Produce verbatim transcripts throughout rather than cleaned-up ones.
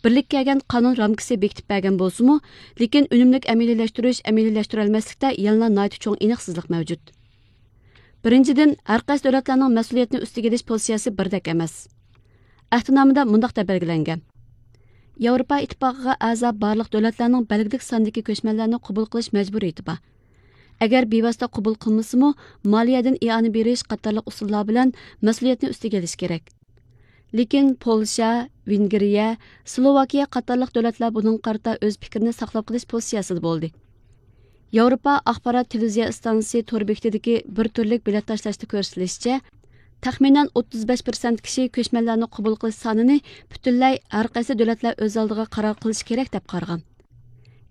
بىرلىككە كەلگەن قانۇن رامكىسى بېكىتىپ بەرگەن بولسىمۇ، لېكىن ئۈنۈملۈك ئەمەلىيلەشتۈرۈش، ئەمەلىيلەشتۈرەلمەسلىكتە يەنىلا ناھايىتى چوڭ ئېنىقسىزلىق مەۋجۇت. بىرىنچىدىن، ھەرقايسى دۆلەتلەرنىڭ مەسئۇلىيەتنى ئۈستىگە ئېلىش پوزىتسىيەسى بىردەك ئەمەس. ئەھدىنامىدا مۇنداق دەپ بەلگىلەنگەن: ياۋروپا ئىتتىپاقىغا ئەزا بارلىق دۆلەتلەرنىڭ بەلگىلىك ساندىكى كۆچمەنلەرنى قوبۇل قىلىش مەجبۇرىيىتى بار. ئەگەر بىۋاسىتە قوبۇل قىلمىسىمۇ، مالىيەدىن ئىئانە بېرىش قاتارلىق ئۇسۇللار بىلەن مەسئۇلىيەتنى ئۈستىگە ئېلىشى كېرەك. لېكىن پولشا، ۋېنگرىيە، سلوۋاكىيە قاتارلىق دۆلەتلەر بۇنىڭغا قارىتا ئۆز پىكرىنى ساقلاپ قېلىش پوزىتسىيەسىدە بولدى. ياۋروپا ئاخبارات تېلېۋىزىيە ئىستانسىسى تور بېكىتىدىكى بىر تۈرلۈك بېلەت تاشلاشتا كۆرسىتىلىشىچە، تەخمىنەن ئوتتۇز بەش پىرسەنت كىشى كۆچمەنلەرنى قوبۇل قىلىش سانىنى پۈتۈنلەي ھەرقايسى دۆلەتلەر ئۆز ئالدىغا قارار قىلىشى كېرەك دەپ قارىغان.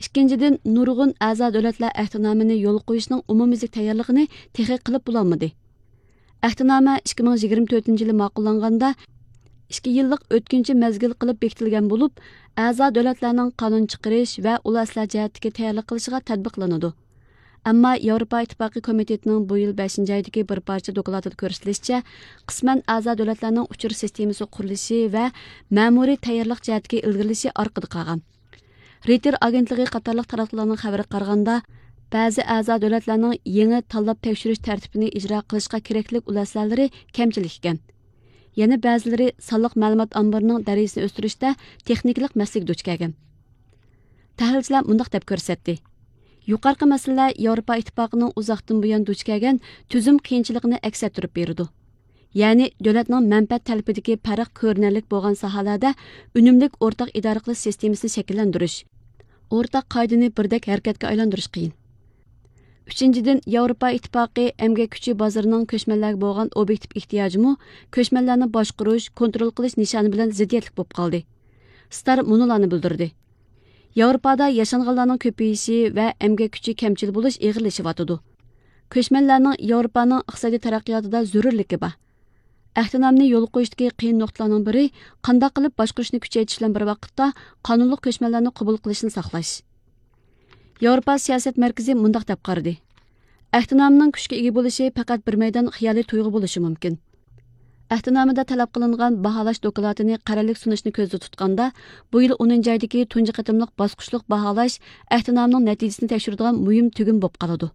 ئىككىنچىدىن، نۇرغۇن ئەزا دۆلەتلەر ئەھدىنامىنى يولغا قويۇشنىڭ ئومۇميۈزلۈك تەييارلىقىنى تېخى قىلىپ بولالمىدى. ئەھدىنامە ئىككى مىڭ يىگىرمە تۆتىنچى يىلى ماقۇللانغاندا، ئىككى يىللىق ئۆتكۈنچى مەزگىل قىلىپ بېكىتىلگەن بولۇپ، ئەزا دۆلەتلەرنىڭ قانۇن چىقىرىش ۋە ئۇلار ئىسلاھ جەھەتتىكى تەييارلىق قىلىشىغا تەتبىقلىنىدۇ. ئەمما ياۋروپا ئىتتىپاقى كومىتېتىنىڭ بۇ يىل بەشىنچى ئايدىكى بىر پارچە دوكلاتىدا كۆرسىتىلىشىچە، قىسمەن ئەزا دۆلەتلەرنىڭ ئۇچۇر سىستېمىسى قۇرۇلۇشى ۋە مەمۇرىي تەييارلىق جەھەتتىكى ئىلگىرىلىشى ئارقىدا قالغان. رېيتېر ئاگېنتلىقى قاتارلىق تاراتقۇلارنىڭ خەۋىرىگە قارىغاندا، بەزى ئەزا دۆلەتلەرنىڭ يېڭى تاللاپ تەكشۈرۈش تەرتىپىنى ئىجرا قىلىشقا كېرەكلىك ئۇلەسلەرلىرى كەمچىلىك ئىكەن. يەنە بەزىلىرى سانلىق مەلۇمات ئامبىرىنىڭ دەرىجىسىنى ئۆستۈرۈشتە تېخنىكىلىق مەسىلىگە دۇچ كەلگەن. تەھلىلچىلەر مۇنداق دەپ كۆرسەتتى: يۇقىرىقى مەسىلىلەر ياۋروپا ئىتتىپاقىنىڭ ئۇزاقتىن بۇيان دۇچ كەلگەن تۈزۈم قىيىنچىلىقىنى ئەكس ئەتتۈرۈپ بېرىدۇ. يەنى دۆلەتنىڭ مەنپەئەت تەلىپىدىكى پەرق كۆرۈنەرلىك بولغان ساھەلەردە ئۈنۈملۈك ئورتاق ئىدارە قىلىش سىستېمىسىنى شەكىللەندۈرۈش، ئورتاق قائىدىنى بىردەك ھەرىكەتكە ئايلاندۇرۇش قىيىن. ئۈچىنچىدىن، ياۋروپا ئىتتىپاقى ئەمگەك كۈچى بازىرىنىڭ كۆچمەنلەرگە بولغان ئوبيېكتىپ ئېھتىياجىمۇ كۆچمەنلەرنى باشقۇرۇش، كونترول قىلىش نىشانى بىلەن زىددىيەتلىك بولۇپ قالدى. ستار مۇنۇلارنى بىلدۈردى: ياۋروپادا ياشانغانلارنىڭ كۆپىيىشى ۋە ئەمگەك كۈچى كەمچىل بولۇش ئېغىرلىشىۋاتىدۇ. كۆچمەنلەرنىڭ ياۋروپانىڭ ئىقتىسادىي تەرەققىياتىدا زۆرۈرلۈكى بار. ئەھدىنامىنى يولغا قويۇشتىكى قىيىن نۇقتىلارنىڭ بىرى، قانداق قىلىپ باشقۇرۇشنى كۈچەيتىش بىلەن بىر ۋاقىتتا قانۇنلۇق كۆچمەنلەرنى قوبۇل قىلىشنى ساقلاش. ياۋروپا سىياسەت مەركىزى مۇنداق دەپ قارىدى: ئەھدىنامىنىڭ كۈچكە ئىگە بولۇشى پەقەت بىر مەيدان خىيالىي تۇيغۇ بولۇشى مۇمكىن. ئەھدىنامىدا تەلەپ قىلىنغان باھالاش دوكلاتىنى قەرەللىك سۇنۇشنى كۆزدە تۇتقاندا، بۇ يىل ئونىنچى ئايدىكى تۇنجى قېتىملىق باسقۇچلۇق باھالاش ئەھدىنامىنىڭ نەتىجىسىنى تەكشۈرىدىغان مۇھىم تۈگۈن بولۇپ قالىدۇ.